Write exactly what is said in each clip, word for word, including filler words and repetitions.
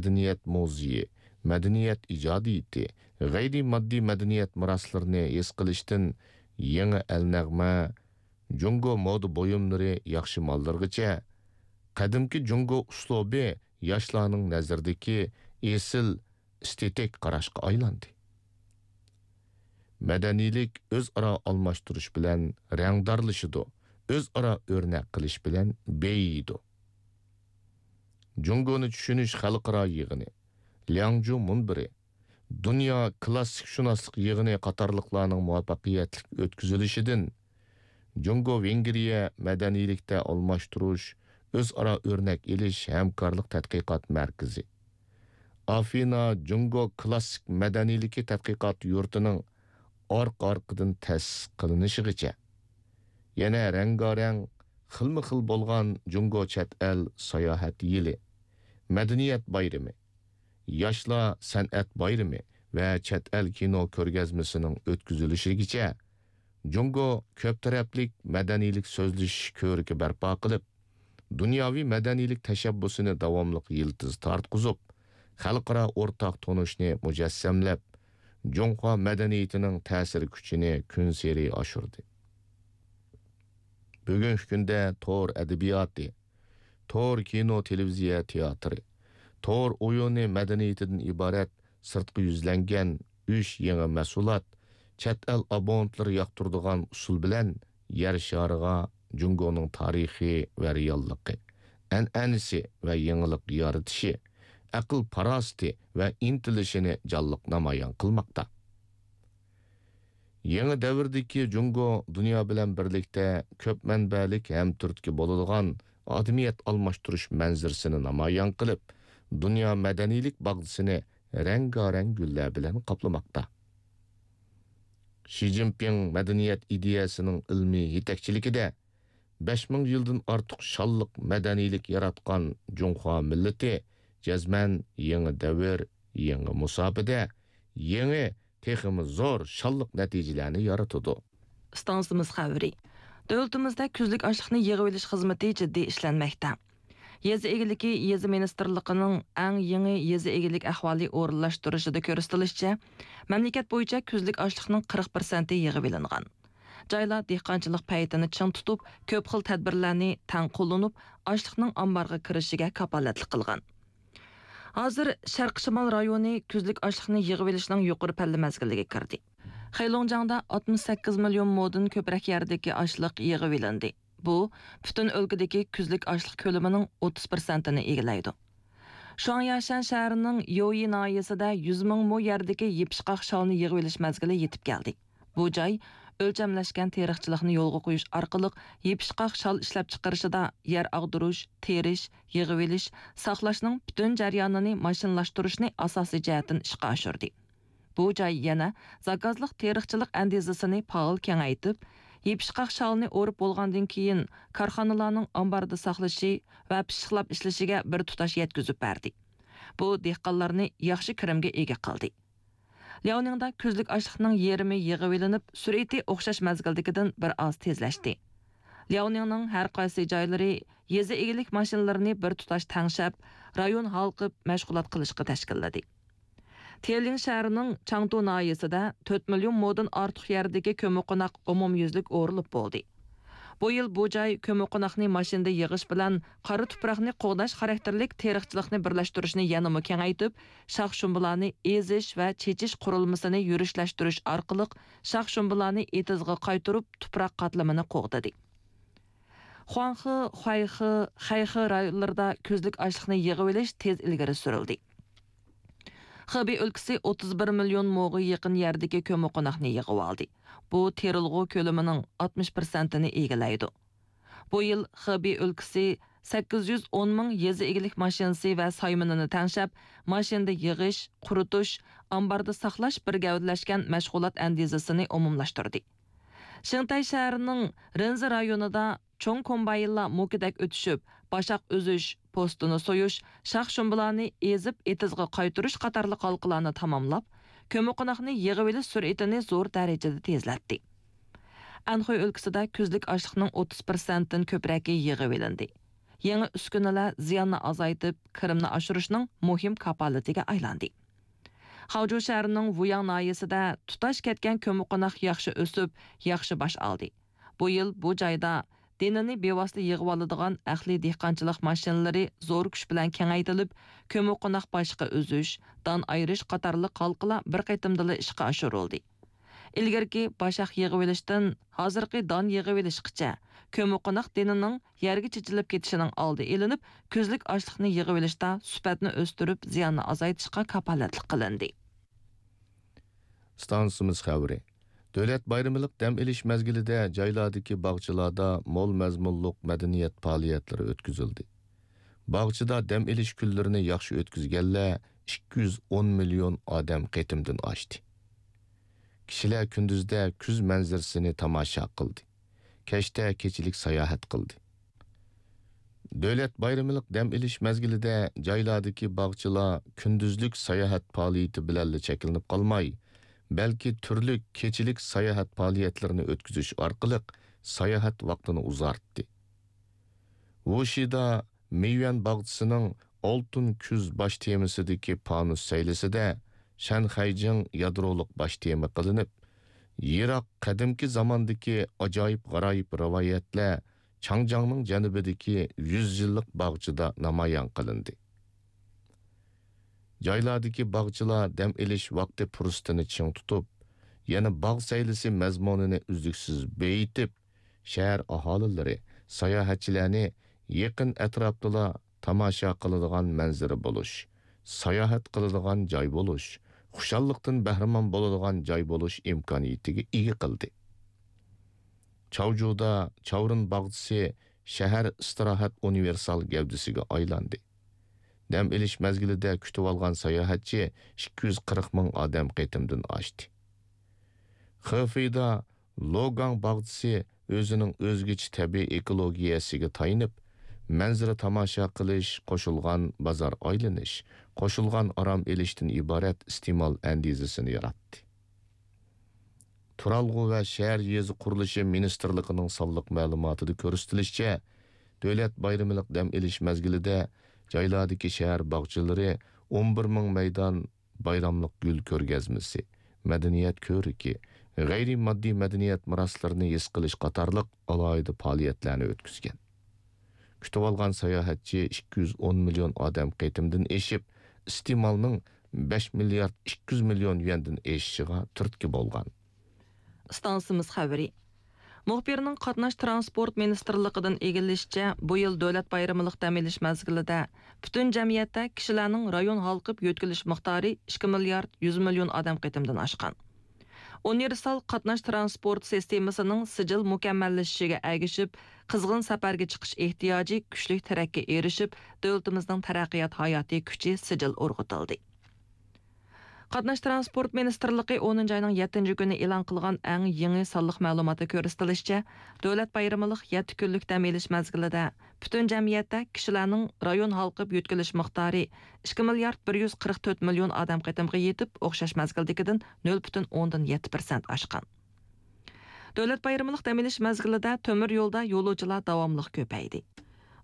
مەدەنىيەت مۇزېيى، مەدەنىيەت ئىجادىيىتى، غەيرىي ماددىي مەدەنىيەت مىراسلىرىنى ھېس قىلىشتىن يېڭى ئەلنەغمە، جۇڭگو مودا بۇيۇملىرى ياخشى ماللىرىغىچە، قەدىمكى جۇڭگو ئۇسلۇبى ياشلارنىڭ نەزىرىدىكى ئېسىل ئېستېتىك قاراشقا ئايلاندى. مەدەنىيلىك ئۆزئارا ئالماشتۇرۇش بىلەن رەڭدارلىشىدۇ، ئۆزئارا ئۆرنەك قىلىش بىلەن بېيىيدۇ. جۇڭگونى چۈشىنىش خەلقئارا يىغىنى، لياڭجۇ مۇنبىرى، دۇنيا كىلاسسىكشۇناسلىق يىغىنى قاتارلىقلارنىڭ مۇۋەپپەقىيەتلىك ئۆتكۈزۈلۈشىدىن جۇڭگو ۋېنگرىيە مەدەنىيلىكتە ئالماشتۇرۇش، ئۆزئارا ئۆرنەك ئېلىش ھەمكارلىق تەتقىقات مەركىزى، ئافىنا جۇڭگو كىلاسسىك مەدەنىيلىكى تەتقىقات يۇرتىنىڭ ئارقا-ئارقىدىن تەسىس قىلىنىشىغىچە، يەنە رەڭگارەڭ، خىلمۇ خىل بولغان جۇڭگو چەت ئەل ساياھەت يىلى، مەدەنىيەت بايرىمى، ياشلار سەنئەت بايرىمى ۋە چەت ئەل كىنو كۆرگەزمىسىنىڭ ئۆتكۈزۈلۈشىگىچە، جۇڭگو كۆپ تەرەپلىك مەدەنىيلىك سۆزلىشىش كۆرىكى بەرپا قىلىپ، دۇنياۋى مەدەنىيلىك تەشەببۇسىنى داۋاملىق يىلتىز تارتقۇزۇپ، خەلقئارا ئورتاق تونۇشنى مۇجەسسەملەپ، جۇڭخۇا مەدەنىيىتىنىڭ تەسىر كۈچىنى كۈنسېرى ئاشۇردى. بۈگۈنكى كۈندە تور ئەدەبىياتى، تور كىنو، تېلېۋىزىيە، تىياتىرى، تور ئويۇنى مەدەنىيىتىدىن ئىبارەت سىرتقا يۈزلەنگەن ئۈچ يېڭى مەھسۇلات، چەت ئەل ئابونېنتلىرى ياقتۇرىدىغان ئۇسۇل بىلەن يەر شارىغا جۇڭگونىڭ تارىخى ۋە رېئاللىقى، ئەنئەنىسى ۋە يېڭىلىق يارىتىشى، ئەقىل-پاراسىتى ۋە ئىنتىلىشىنى جانلىق نامايان قىلماقتا. يېڭى دەۋردىكى جۇڭگو دۇنيا بىلەن بىرلىكتە كۆپ مەنبەلىك ھەم تۈرتكە بولىدىغان ئادىمىيەت ئالماشتۇرۇش مەنزىرىسىنى نامايان قىلىپ، دۇنيا مەدەنىيلىك باغچىسىنى رەڭگارەڭ گۈللەر بىلەن قاپلىماقتا. شى جىنپىڭ مەدەنىيەت ئىدىيەسىنىڭ ئىلمىي يېتەكچىلىكىدە بەش مىڭ يىلدىن ئارتۇق شانلىق مەدەنىيلىك ياراتقان جۇڭخۇا مىللىتى جەزمەن يېڭى دەۋر، يېڭى مۇساپىدە، يېڭى، تېخىمۇ زور شانلىق نەتىجىلەرنى يارىتىدۇ. ئىستانسىمىز خەۋىرى. دۆلىتىمىزدە كۈزلۈك ئاشلىقنى يىغىۋېلىش خىزمىتى جىددىي ئىشلەنمەكتە. يېزا ئىگىلىكى، يېزا مىنىستىرلىقىنىڭ ئەڭ يېڭى يېزا ئىگىلىك ئەھۋالى ئورۇنلاشتۇرۇشىدا كۆرسىتىلىشىچە، مەملىكەت بويىچە كۈزلۈك ئاشلىقنىڭ قىرىق پىرسەنتى يىغىۋېلىنغان. جايلار دېھقانچىلىق پەيتىنى چىڭ تۇتۇپ، كۆپ خىل تەدبىرلەرنى تەڭ قوللىنىپ، ئاشلىقنىڭ ئامبارغا كىرىشىگە كاپالەتلىك قىلغان. ھازىر شەرقىي شىمال رايونى كۈزلۈك ئاشلىقنى يىغىۋېلىشنىڭ يۇقىرى پەللە مەزگىلىگە كىردى. خېيلوڭجياڭدا ئاتمىش سەككىز مىليون مودىن كۆپرەك يەردىكى ئاشلىق يىغىۋېلىندى. بۇ پۈتۈن ئۆلكىدىكى كۈزلۈك ئاشلىق كۆلىمىنىڭ ئوتتۇز پىرسەنتىنى ئىگىلەيدۇ. شۇاڭياشەن شەھىرىنىڭ يويى ناھىيەسىدە يۈز مىڭ مو يەردىكى يېپىشقاق شالنى يىغىۋېلىش مەزگىلى يېتىپ كەلدى. بۇ جاي ئۆلچەملەشكەن تېرىقچىلىقنى يولغا قويۇش ئارقىلىق يېپىشقاق شال ئىشلەپچىقىرىشىدا يەر ئاغدۇرۇش، تېرىش، يىغىۋېلىش، ساقلاشنىڭ پۈتۈن جەريانىنى ماشىنىلاشتۇرۇشنى ئاساسىي جەھەتتىن ئىشقا ئاشۇردى. بۇ جاي يەنە زاكازلىق تېرىقچىلىق ئەندىزىسىنى پائال كېڭەيتىپ، يېپىشقاق شالنى ئورۇپ بولغاندىن كېيىن، كارخانىلارنىڭ ئامباردا ساقلىشى ۋە پىششىقلاپ ئىشلىشىگە بىر تۇتاش يەتكۈزۈپ بەردى. بۇ دېھقانلارنى ياخشى كىرىمگە ئىگە قىلدى. لياۋنىڭدا كۈزلۈك ئاشلىقنىڭ يېرىمى يىغىۋېلىنىپ، سۈرئىتى ئوخشاش مەزگىلدىكىدىن بىر ئاز تېزلەشتى. لياۋنىڭنىڭ ھەر قايسى جايلىرى يېزا ئىگىلىك ماشىنىلىرىنى بىر تۇتاش تەڭشەپ، رايون ھالقىپ مەشغۇلات قىلىشقا تەشكىللىدى. تيېنلىڭ شەھىرىنىڭ چاڭتۇ ناھىيەسىدە تۆت مىليون مودىن ئارتۇق يەردىكى كۆممىقوناق ئومۇميۈزلۈك ئورۇلۇپ بولدى. بۇ يىل بۇ جاي كۆممىقوناقنى ماشىنىدا يىغىش بىلەن قارا تۇپراقنى قوغداش خاراكتېرلىك تېرىقچىلىقنى بىرلەشتۈرۈشنى يەنىمۇ كېڭەيتىپ، شاخ-شۇمبىلارنى ئېزىش ۋە چېچىش قۇرۇلمىسىنى يۈرۈشلەشتۈرۈش ئارقىلىق شاخ-شۇمبىلارنى ئېتىزغا قايتۇرۇپ، تۇپراق قاتلىمىنى قوغدىدى. خۇاڭخې، خۇەيخې، خەيخې رايونلىرىدا كۈزلۈك ئاشلىقنى يىغىۋېلىش تېز ئىلگىرى سۈرۈلدى. خېبېي ئۆلكىسى ئوتتۇز بىر مىليون موغا يېقىن يەردىكى كۆممىقوناقنى يىغىۋالدى. بۇ تېرىلغۇ كۆلىمىنىڭ ئاتمىش پىرسەنتىنى ئىگىلەيدۇ. بۇ يىل خېبېي ئۆلكىسى سەككىز يۈز ئون مىڭ يېزا ئىگىلىك ماشىنىسى ۋە سايمىنىنى تەڭشەپ، ماشىنىدا يىغىش، قۇرۇتۇش، ئامباردا ساقلاش بىر گەۋدىلەشكەن مەشغۇلات ئەندىزىسىنى ئومۇملاشتۇردى. شېڭتەي شەھىرىنىڭ رېنزى رايونىدا چوڭ كومباينلار موكىدەك ئۆتۈشۈپ، باشاق ئۈزۈش، پوستىنى سويۇش، شاخ-شۇمبىلارنى ئېزىپ ئېتىزغا قايتۇرۇش قاتارلىق ھالقىلارنى تاماملاپ، كۆممىقوناقنى يىغىۋېلىش سۈرئىتىنى زور دەرىجىدە تېزلەتتى. ئەنخۇي ئۆلكىسىدە كۈزلۈك ئاشلىقنىڭ ئوتتۇز پىرسەنتتىن كۆپرەكى يىغىۋېلىندى. يېڭى ئۈسكۈنىلەر زىياننى ئازايتىپ، كىرىمنى ئاشۇرۇشنىڭ مۇھىم كاپالىتىگە ئايلاندى. خاۋجۇ شەھىرىنىڭ ۋۇياڭ ناھىيەسىدە تۇتاش كەتكەن كۆممىقوناق ياخشى ئۆسۈپ، ياخشى باش ئالدى. بۇ يىل بۇ جايدا دېنىنى بىۋاسىتە يىغىۋالىدىغان ئەقلىي دېھقانچىلىق ماشىنىلىرى زور كۈچ بىلەن كېڭەيتىلىپ، كۆممىقوناق باشلىقى ئۈزۈش، دان ئايرىش قاتارلىق ھالقىلار بىر قېتىمدىلا ئىشقا ئاشۇرۇلدى. ئىلگىرىكى باشاق يىغىۋېلىشتىن ھازىرقى دان يىغىۋېلىشقىچە، كۆممىقوناق دېنىنىڭ يەرگە چېچىلىپ كېتىشىنىڭ ئالدى ئېلىنىپ، كۈزلۈك ئاشلىقنى يىغىۋېلىشتا سۈپەتنى ئۆستۈرۈپ، زىياننى ئازايتىشقا كاپالەتلىك قىلىندى. ئىستانسىمىز خەۋىرى. دۆلەت بايرىملىق دەم ئېلىش مەزگىلىدە جايلاردىكى باغچىلاردا مول مەزمۇنلۇق مەدەنىيەت پائالىيەتلىرى ئۆتكۈزۈلدى. باغچىدا دەم ئېلىش كۈنلىرىنى ياخشى ئۆتكۈزگەنلەر ئىككى يۈز ئون مىليون ئادەم قېتىمدىن ئاشتى. كىشىلەر كۈندۈزدە كۈز مەنزىرىسىنى تاماشا قىلدى. كەچتە كېچىلىك ساياھەت قىلدى. دۆلەت بايرىملىق دەم ئېلىش مەزگىلىدە جايلاردىكى باغچىلار كۈندۈزلۈك ساياھەت پائالىيىتى بىلەنلا چەكلىنىپ قالماي، بەلكى تۈرلۈك كېچىلىك ساياھەت پائالىيەتلىرىنى ئۆتكۈزۈش ئارقىلىق ساياھەت ۋاقتىنى ئۇزارتتى. ۋۇشىدا مېيۈەن باغچىسىنىڭ ئالتۇن كۈز باش تېمىسىدىكى پانۇس سەيلىسىدە شەنخەيجىڭ يادرولۇق باش تېما قىلىنىپ، يىراق قەدىمكى زاماندىكى ئاجايىپ-غارايىپ رىۋايەتلەر چاڭجياڭنىڭ جەنۇبىدىكى يۈز يىللىق باغچىدا نامايان قىلىندى. جايلاردىكى باغچىلار دەم ئېلىش ۋاقتى پۇرسىتىنى چىڭ تۇتۇپ، يەنە باغ سەيلىسى مەزمۇنىنى ئۈزلۈكسىز بېيىتىپ، شەھەر ئاھالىلىرى، ساياھەتچىلەرنى يېقىن ئەتراپتىلا تاماشا قىلىدىغان مەنزىرە بولۇش، ساياھەت قىلىدىغان جاي بولۇش، خۇشاللىقتىن بەھرىمەن بولىدىغان جاي بولۇش ئىمكانىيىتىگە ئىگە قىلدى. چاۋجۇدا چاۋرىن باغچىسى شەھەر ئىستىراھەت ئۇنىۋېرسال گەۋدىسىگە ئايلاندى. دەم ئېلىش مەزگىلىدە كۈتۈۋالغان ساياھەتچى ئىككى يۈز قىرىق مىڭ ئادەم قېتىمدىن ئاشتى. خېفېيدا لوگاڭ باغچىسى ئۆزىنىڭ ئۆزگىچە تەبىئىي ئېكولوگىيەسىگە تايىنىپ، مەنزىرە تاماشا قىلىش، قوشۇلغان بازار ئايلىنىش، قوشۇلغان ئارام ئېلىشتىن ئىبارەت ئىستېمال ئەندىزىسىنى ياراتتى. تۇرالغۇ ۋە شەھەر يېزا قۇرۇلۇشى مىنىستىرلىقىنىڭ سانلىق مەلۇماتىدا كۆرسىتىلىشىچە، دۆلەت بايرىملىق دەم ئېلىش مەزگىلىدە جايلاردىكى شەھەر باغچىلىرى ئون بىر مىڭ مەيدان بايراملىق گۈل كۆرگەزمىسى، مەدەنىيەت كۆرىكى، غەيرىي ماددىي مەدەنىيەت مىراسلىرىنى ھېس قىلىش قاتارلىق ئالاھىدە پائالىيەتلەرنى ئۆتكۈزگەن. كۈتۈۋالغان ساياھەتچى ئىككى يۈز ئون مىليون ئادەم قېتىمدىن ئېشىپ، ئىستېمالنىڭ بەش مىليارد ئىككى يۈز مىليون يۈەندىن ئېشىشىغا تۈرتكە بولغان. ئىستانسىمىز خەۋىرى. مۇخبىرنىڭ قاتناش تىرانسپورت مىنىستىرلىقىدىن ئىگىلىشىچە، بۇ يىل دۆلەت بايرىمىلىق دەم ئېلىش مەزگىلىدە پۈتۈن جەمئىيەتتە كىشىلەرنىڭ رايون ھالقىپ يۆتكىلىش مىقدارى ئىككى مىليارد يۈز مىليون ئادەم قېتىمدىن ئاشقان. ئۇنىۋېرسال قاتناش تىرانسپورت سىستېمىسىنىڭ سىجىل مۇكەممەللىشىشىگە ئەگىشىپ، قىزغىن سەپەرگە چىقىش ئېھتىياجى كۈچلۈك تىرەككە ئېرىشىپ، دۆلىتىمىزنىڭ تەرەققىيات ھاياتىي كۈچى سىجىل ئۇرغۇتۇلدى. قاتناش تىرانسپورت مىنىستىرلىقى ئونىنچى ئاينىڭ يەتتىنچى كۈنى ئېلان قىلغان ئەڭ يېڭى سانلىق مەلۇماتتا كۆرسىتىلىشىچە، دۆلەت بايرىمىلىق يەتتە كۈنلۈك دەم ئېلىش مەزگىلىدە پۈتۈن جەمئىيەتتە كىشىلەرنىڭ رايون ھالقىپ يۆتكىلىش مىقدارى ئىككى مىليارد بىر يۈز قىرىق تۆت مىليون ئادەم قېتىمغا يېتىپ، ئوخشاش مەزگىلدىكىدىن نۆل پۈتۈن ئوندىن يەتتە پىرسەنت ئاشقان. دۆلەت بايرىمىلىق دەم ئېلىش مەزگىلىدە تۆمۈر يولدا يولۇچىلار داۋاملىق كۆپەيدى.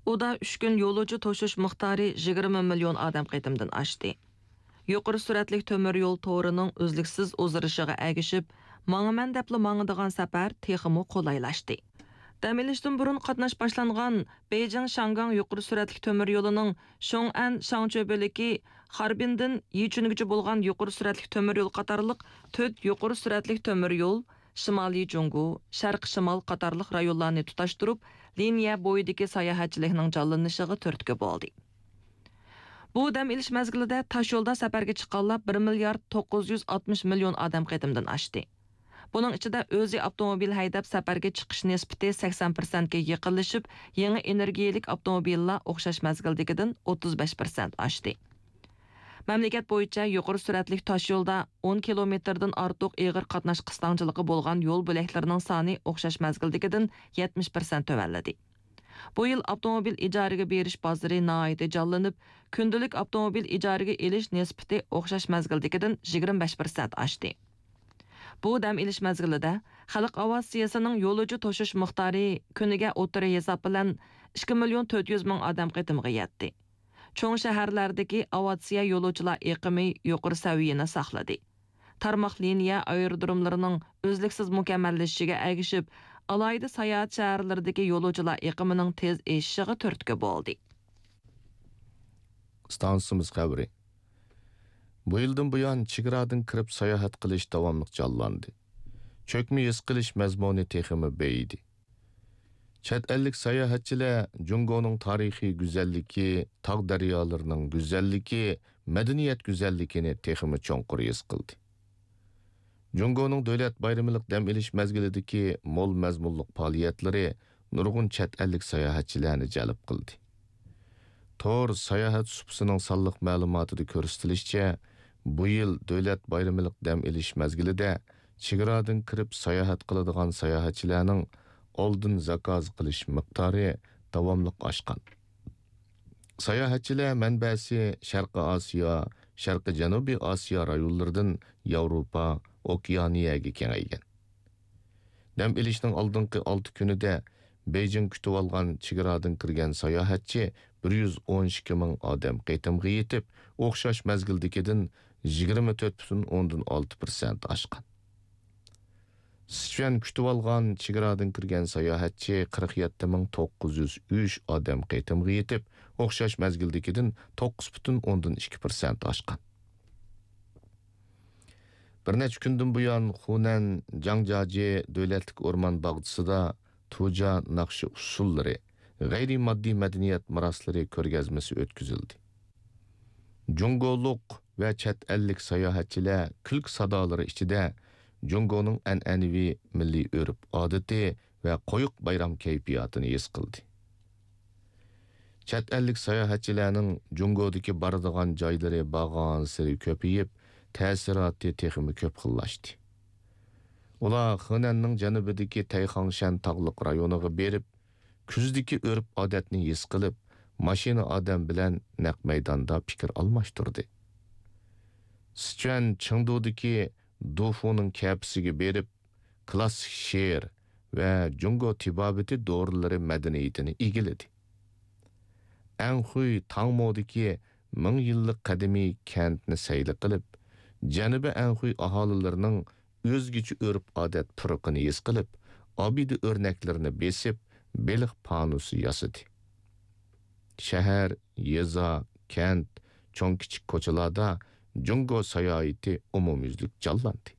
ئۇدا ئۈچ كۈن يولۇچى توشۇش مىقدارى يىگىرمە مىليون ئادەم قېتىمدىن ئاشتى. يۇقىرى سۈرئەتلىك تۆمۈر يول تورىنىڭ ئۈزلۈكسىز ئۇزىرىشىغا ئەگىشىپ، ماڭىمەن دەپلا ماڭىدىغان سەپەر تېخىمۇ قولايلاشتى. دەم ئېلىشتىن بۇرۇن قاتناش باشلانغان بېيجىڭ شياڭگاڭ يۇقىرى سۈرئەتلىك تۆمۈر يولىنىڭ شوڭئەن شاڭچۆ بۆلىكى، خاربىندىن يىچۈنگىچە بولغان يۇقىرى سۈرئەتلىك تۆمۈر يول قاتارلىق تۆت يۇقىرى سۈرئەتلىك تۆمۈر يول، شىمالىي جۇڭگو، شەرقىي شىمال قاتارلىق رايونلارنى تۇتاشتۇرۇپ، لىنىيە بويىدىكى ساياھەتچىلىكنىڭ جانلىنىشىغا تۈرتكە بولدى. بۇ دەم ئېلىش مەزگىلىدە تاشيولدا سەپەرگە چىققانلار بىر مىليارد توققۇز يۈز ئاتمىش مىليون ئادەم قېتىمدىن ئاشتى. بۇنىڭ ئىچىدە ئۆزى ئاپتوموبىل ھەيدەپ سەپەرگە چىقىش نىسبىتى سەكسەن پىرسەنتكە يېقىنلىشىپ، يېڭى ئېنېرگىيەلىك ئاپتوموبىللار ئوخشاش مەزگىلدىكىدىن ئوتتۇز بەش پىرسەنت ئاشتى. مەملىكەت بويىچە يۇقىرى سۈرئەتلىك تاشيولدا ئون كىلومېتىردىن ئارتۇق ئېغىر قاتناش قىستاڭچىلىقى بولغان يول بۆلەكلىرىنىڭ سانى ئوخشاش مەزگىلدىكىدىن يەتمىش پىرسەنت تۆۋەنلىدى. بۇ يىل ئاپتوموبىل ئىجارىگە بېرىش بازىرى ناھايىتى جانلىنىپ، كۈندىلىك ئاپتوموبىل ئىجارىگە ئېلىش نىسبىتى ئوخشاش مەزگىلدىكىدىن يىگىرمە بەش پىرسەنت ئاشتى. بۇ دەم ئېلىش مەزگىلىدە خەلق ئاۋىئاتسىيەسىنىڭ يولۇچى توشۇش مىقدارى كۈنىگە ئوتتۇرا ھېساب بىلەن ئىككى مىليون تۆت يۈز مىڭ ئادەم قېتىمغا يەتتى. چوڭ شەھەرلەردىكى ئاۋىئاتسىيە يولۇچىلار ئېقىمى يۇقىرى سەۋىيەنى ساقلىدى. تارماق لىنىيە ئايرودروملىرىنىڭ ئۈزلۈكسىز مۇكەممەللىشىشىگە ئەگىشىپ، ئالاھىدە ساياھەت شەھەرلىرىدىكى يولۇچىلار ئېقىمىنىڭ تېز ئېشىشىغا تۈرتكە بولدى. ئىستانسىمىز خەۋىرى. بۇ يىلدىن بۇيان چېگرادىن كىرىپ ساياھەت قىلىش داۋاملىق جانلاندى. چۆكمە ھېس قىلىش مەزمۇنى تېخىمۇ بېيىدى. چەت ئەللىك ساياھەتچىلەر جۇڭگونىڭ تارىخىي گۈزەللىكى، تاغ دەريالىرىنىڭ گۈزەللىكى، مەدەنىيەت گۈزەللىكىنى تېخىمۇ چوڭقۇر ھېس قىلدى. جۇڭگونىڭ دۆلەت بايرىملىق دەم ئېلىش مەزگىلىدىكى مول مەزمۇنلۇق پائالىيەتلىرى نۇرغۇن چەت ئەللىك ساياھەتچىلەرنى جەلپ قىلدى. تور ساياھەت سۇپىسىنىڭ سانلىق مەلۇماتىدا كۆرسىتىلىشىچە، بۇ يىل دۆلەت بايرىملىق دەم ئېلىش مەزگىلىدە چېگرادىن كىرىپ ساياھەت قىلىدىغان ساياھەتچىلەرنىڭ ئالدىن زاكاز قىلىش مىقدارى داۋاملىق ئاشقان. ساياھەتچىلەر مەنبەسى شەرقىي ئاسىيا، شەرقىي جەنۇبىي ئاسىيا رايونلىرىدىن ياۋروپا، ئوكېئانىيەگە كېڭەيگەن. دەم ئېلىشنىڭ ئالدىنقى ئالتە كۈنىدە بېيجىڭ كۈتۈۋالغان چېگرادىن كىرگەن ساياھەتچى بىر يۈز ئون ئىككى مىڭ ئادەم قېتىمغا يېتىپ، ئوخشاش مەزگىلدىكىدىن يىگىرمە تۆت پۈتۈن ئوندىن ئالتە پىرسەنت ئاشقان. سىچۈەن كۈتۈۋالغان چېگرادىن كىرگەن ساياھەتچى قىرىق يەتتە مىڭ توققۇز يۈز ئۈچ ئادەم قېتىمغا يېتىپ، ئوخشاش مەزگىلدىكىدىن توققۇز پۈتۈن ئوندىن ئىككى پىرسەنت ئاشقان. بىر نەچچە كۈندىن بۇيان خۇنەن جاڭجاجى دۆلەتلىك ئورمان باغچىسىدا تۇجيا ناخشا ئۇسسۇللىرى، غەيرىي ماددىي مەدەنىيەت مىراسلىرى كۆرگەزمىسى ئۆتكۈزۈلدى. جۇڭگولۇق ۋە چەت ئەللىك ساياھەتچىلەر كۈلكە سادالىرى ئىچىدە جۇڭگونىڭ ئەنئەنىۋى مىللىي ئۆرپ-ئادىتى ۋە قويۇق بايرام كەيپىياتىنى ھېس قىلدى. چەت ئەللىك ساياھەتچىلەرنىڭ جۇڭگودىكى بارىدىغان جايلىرى بارغانسېرى كۆپىيىپ، تەسىراتى تېخىمۇ كۆپ خىللاشتى. ئۇلار خېنەننىڭ جەنۇبىدىكى تەيخاڭشەن تاغلىق رايونىغا بېرىپ، كۈزدىكى ئۆرپ-ئادەتنى ھېس قىلىپ، ماشىنا ئادەم بىلەن نەق مەيداندا پىكىر ئالماشتۇردى. سىچۈەن چېڭدۇدىكى دۇفۇنىڭ كەپىسىگە بېرىپ، كلاسسىك شېئىر ۋە جۇڭگو تېبابىتى دورىلىرى مەدەنىيىتىنى ئىگىلىدى. ئەنخۇي تاڭمودىكى مىڭ يىللىق قەدىمىي كەنتنى سەيلە قىلىپ، جەنۇبىي ئەنخۇي ئاھالىلىرىنىڭ ئۆزگىچە ئۆرپ-ئادەت پۇرىقىنى ھېس قىلىپ، ئابىدە ئۆرنەكلىرىنى بېسىپ، بېلىق پانۇسى ياسىدى. شەھەر، يېزا، كەنت، چوڭ-كىچىك كوچىلاردا جۇڭگو ساياھىتى ئومۇميۈزلۈك جانلاندى.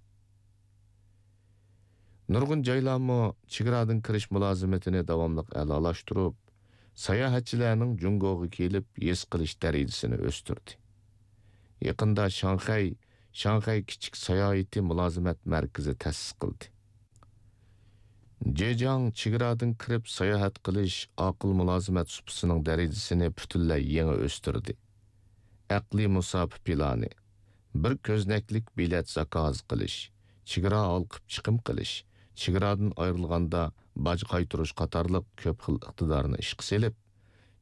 نۇرغۇن جايلارمۇ چېگرادىن كىرىش مۇلازىمىتىنى داۋاملىق ئەلالاشتۇرۇپ، ساياھەتچىلەرنىڭ جۇڭگوغا كېلىپ ھېس قىلىش دەرىجىسىنى ئۆستۈردى. يېقىندا شاڭخەي، شاڭخەي كىچىك ساياھىتى مۇلازىمەت مەركىزى تەسىس قىلدى. جېجياڭ چېگرادىن كىرىپ ساياھەت قىلىش ئاقىل مۇلازىمەت سۇپىسىنىڭ دەرىجىسىنى پۈتۈنلەي يېڭى ئۆستۈردى. ئەقلىي مۇساپە پىلانى، بىر كۆزنەكلىك بېلەت زاكاز قىلىش، چېگرا ھالقىپ چىقىم قىلىش، چېگرادىن ئايرىلغاندا باج قايتۇرۇش قاتارلىق كۆپ خىل ئىقتىدارنى ئىشقا سېلىپ،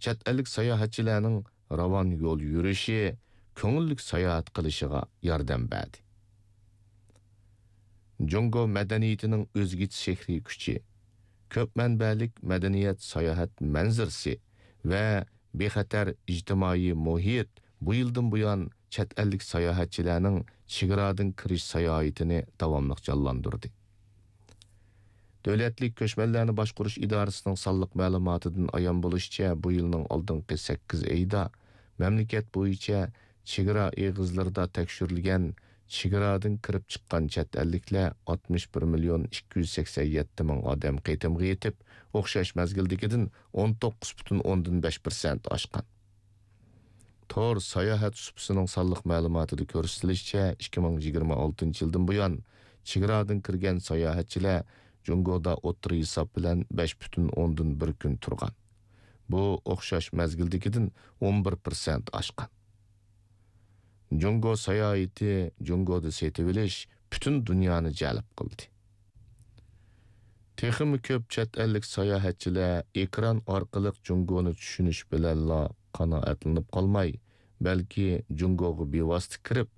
چەت ئەللىك ساياھەتچىلەرنىڭ راۋان يول يۈرۈشى، كۆڭۈللۈك ساياھەت قىلىشىغا ياردەم بەردى. جۇڭگو مەدەنىيىتىنىڭ ئۆزگىچە سېھرىي كۈچى، كۆپ مەنبەلىك مەدەنىيەت ساياھەت مەنزىرىسى ۋە بىخەتەر ئىجتىمائىي مۇھىت بۇ يىلدىن بۇيان چەت ئەللىك ساياھەتچىلەرنىڭ چېگرادىن كىرىش ساياھىتىنى داۋاملىق جانلاندۇردى. دۆلەتلىك كۆچمەنلەرنى باشقۇرۇش ئىدارىسىنىڭ سانلىق مەلۇماتىدىن ئايان بولۇشىچە، بۇ يىلنىڭ ئالدىنقى سەككىز ئېيىدا مەملىكەت بويىچە چېگرا ئېغىزلىرىدا تەكشۈرۈلگەن چېگرادىن كىرىپ چىققان چەت ئەللىكلەر ئاتمىش بىر مىليون ئىككى يۈز سەكسەن يەتتە مىڭ ئادەم قېتىمغا يېتىپ، ئوخشاش مەزگىلدىكىدىن ئون توققۇز پۈتۈن ئوندىن بەش پىرسەنت ئاشقان. تور ساياھەت سۇپىسىنىڭ سانلىق مەلۇماتىدا كۆرسىتىلىشىچە، ئىككى مىڭ يىگىرمە ئالتىنچى يىلدىن بۇيان چېگرادىن كىرگەن ساياھەتچىلەر جۇڭگودا ئوتتۇرا ھېساب بىلەن بەش پۈتۈن ئوندىن بىر كۈن تۇرغان. بۇ ئوخشاش مەزگىلدىكىدىن ئون بىر پىرسەنت ئاشقان. جۇڭگو ساياھىتى، جۇڭگودا سېتىۋېلىش پۈتۈن دۇنيانى جەلپ قىلدى. تېخىمۇ كۆپ چەت ئەللىك ساياھەتچىلەر ئېكران ئارقىلىق جۇڭگونى چۈشىنىش بىلەنلا قانائەتلىنىپ قالماي، بەلكى جۇڭگوغا بىۋاسىتە كىرىپ،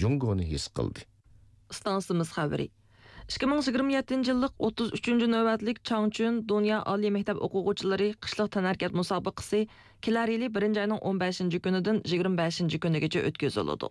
جۇڭگونى ھېس قىلدى. ئىستانسىمىز خەۋىرى. ئىككى مىڭ يىگىرمە يەتتىنچى يىللىق ئوتتۇز ئۈچىنچى نۆۋەتلىك چاڭچۈن دۇنيا ئالىي مەكتەپ ئوقۇغۇچىلىرى قىشلىق تەنھەرىكەت مۇسابىقىسى كېلەر يىلى بىرىنچى ئاينىڭ ئون بەشىنچى كۈنىدىن يىگىرمە بەشىنچى كۈنىگىچە ئۆتكۈزۈلىدۇ.